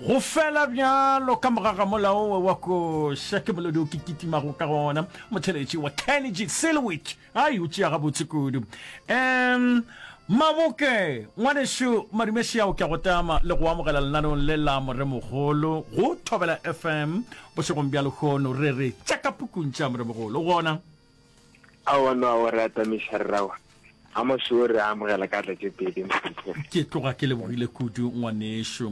Go fela bjalo ka mogaga molao wa koša ke molodi o ke kitimago ka gona motheletši wa Kenny Silwich ai o tšea gabotse kudu. Um Maboke ngwanešu Madumešiao ke a go tama le go amogela lenaneong le la Moremogolo go Thobela FM bošegong bja lehono re re tša ka pukung tša Moremogolo gona. Aowa no aowa re atamiša rrawa. A mošo re a amogela ka atla tše pedi Mohlomphegi. Ke tloga ke lebogile kudu ngwanešu.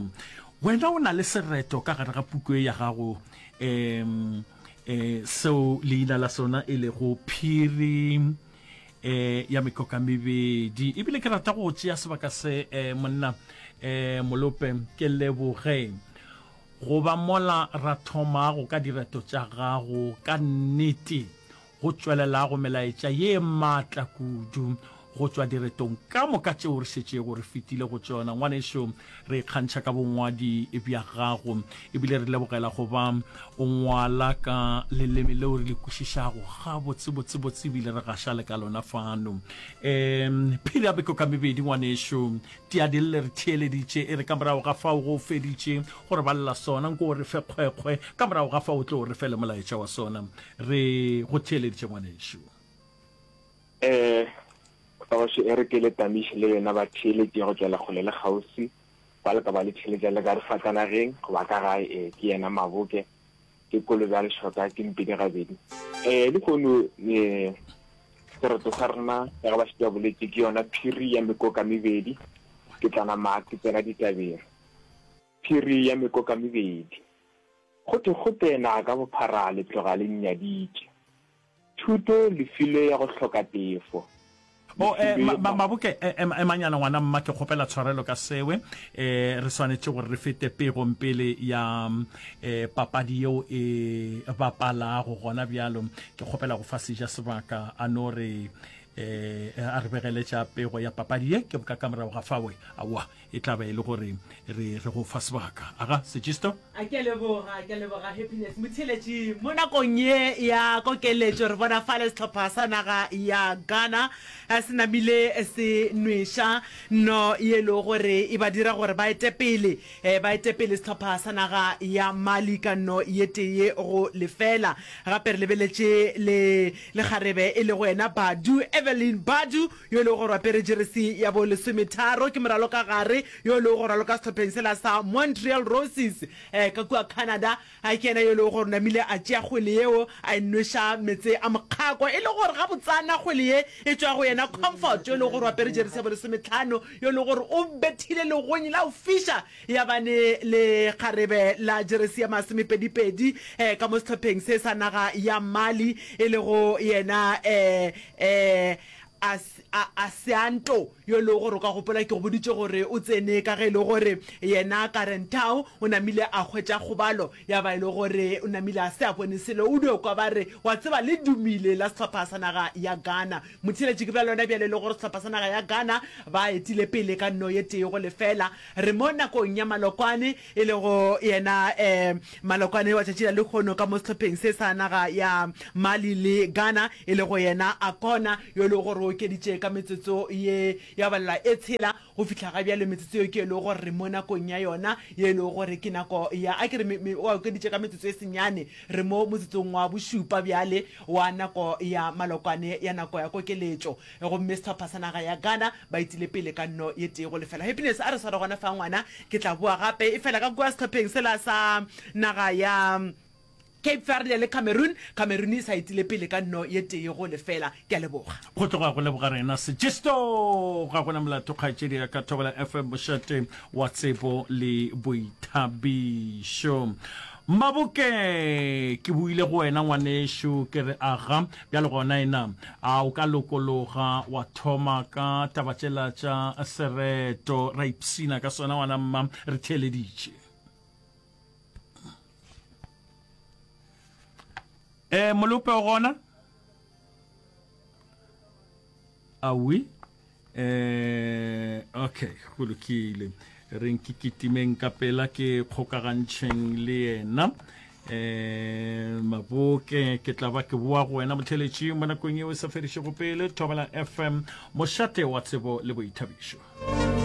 Wena o na le sereto ka gare ga puku e ya gago um um seo leina la sona e lego Phiri um ya Mekokamebedi. Ebile ke rata go tšea sebaka se um monna um Molope ke leboge go ba mola ra thomago ka direto tša gago ka nnete go tšwelelago melaetša ye maatla kudu go tšwa diretong ka moka tšeo re šetšego re fetile go tšona. Ngwanešu, re ikgantšha ka bongwadi bja gago ebile re lebogela go ba o ngwala ka leleme leo re le kwešišago gabotsebotsebotse ebile re gaša le ka lona fano. Um Phiri ya Beko ka mebedi, ngwanešu, Tiadille re theeleditše, e re ka morago ga fao go o feditše go re balela sona, nko o re fe kgwekgwe, ka morago ga fao o tlo re fe le molaetša wa sona. Re go theeleditše ngwanešu. Eh, Kgoši e re ke le tamiše le lena batheeletši go tšwela kgole le kgauswi, ba le ka ba le theeletša le ka difatanageng goba ka gae, ee, ke yena Maboke, ke kolobe ya lešoka, ke mpedi gabedi. Eh, lehono, eh, sereto sa rena, ka ge ba šetše ba boletše, ke yona phiri ya mekoka mebedi, ke tla nama ke tsena ditabeng. Phiri ya mekoka mebedi. Go thwe gope naga ka bophara le tloga le nnyaditše. Thuto le filwe ya go hloka tefo. Le O, eh, ma, ma, Maboke, eh, ema, emanyana ngwana mma, ke kgopela tshwarelo ka sewe. Eh, re swanetše gore re fete pegong pele ya eh, papadi yeo e bapalago gona bjalo. Ke kgopela go fa seja sebaka a no re eh, a re begele tša pego ya papadi ye, ke boka ka morago ga fawe. Aowa, E tla ba e le gore re re go fa sebaka. Aga, Sejisto? A ke a leboga, ke a leboga Happiness Motheeletši. Mo nakong ye ya kokeletšo re bona fale sehlopha sa naga ya Ghana se namile se nweša nno ye e lego gore e ba dira gore ba ete pele, ba ete pele sehlopha sa naga ya Mali ka nno ye tee go lefela. Gape re lebeletše le lekgarebe e lego yena Badu, Evelyn Badu yo e lego gore o apere jeresi ya bo lesometharo, ke moralokagare yo e lego gore raloka sehlopheng sela sa Montreal Roses ka kua Canada. Ke yena yo e lego gore o namile a tšea kgwele yeo a e nweša meetse a mokgako, e le gore gabotsana kgwele ye e tšwa go yena Comfort yo e lego gore o apere jeresi ya bo lesometlhano, yo e lego gore o bethile legonyi la go fiša ya ba ne lekgarebe la jeresi ya masomepedipedi ka mo sehlopheng se sa naga ya Mali, e lego yena Asianto, yo e lego gore o ka gopola ke go boditše gore o tsene ka ge e le gore yena Karen Tau o namile a hwetša kgobalo ya ba e le gore o namile a se a bone selo. O dio kwa ba re, wa tseba le dumile la sehlopha sa naga ya Ghana. Motheeletši ke bja lona bjale e le gore sehlopha sa naga ya Ghana ba etile pele ka nno ye tee go lefela. Re mo nakong ya malokwane e lego yena Malokwane wa tšatši la lehono ka mo sehlopheng se sa naga ya Mali le Ghana, e lego yena Akona yo e lego gore o okeditše ka metsotso ye ya balelwa e tshela go fihla ga bjale. Metsotso yeo ke e lego gore re mo nakong ya yona ye e lego gore ke nako ya, a ke re, o okeditše ka metsotso e senyane, re mo motsotsong wa bošupa bjale wa nako ya Malokwane ya nako ya kokeletšo. Gomme sehlopha sa naga ya Ghana ba etile pele ka nno ye tee go lefela. Happiness a re sware gona fa ngwana, ke tla boa gape. Efela ka kua sehlopheng sela sa naga ya Cape Verde le Cameroon, Cameroon e sa etile pele ka nno ye tee go lefela. Ke a leboga. Go tloga go leboga rena Sejisto. Ga gona molato kgaetšedi ya ka Thobela FM mošate wa tsebo le boithabišo. Maboke ke buile go wena ngwanešu ke re aga bjale gona ena a o ka lokologa wa thoma ka taba tšela tša sereto ra ipsina ka sona ngwana mma re theeleditše. Eh Molope o gona? Awi. Eh okay, go lokile. Re nke kitimeng ka pela ke kgokagantšheng le yena. Eh Maboke ke tla ba ke boa go wena motheletši mo nakong yeo e sa fedišego pele Thobela FM mošate wa tsebo le boithabišo.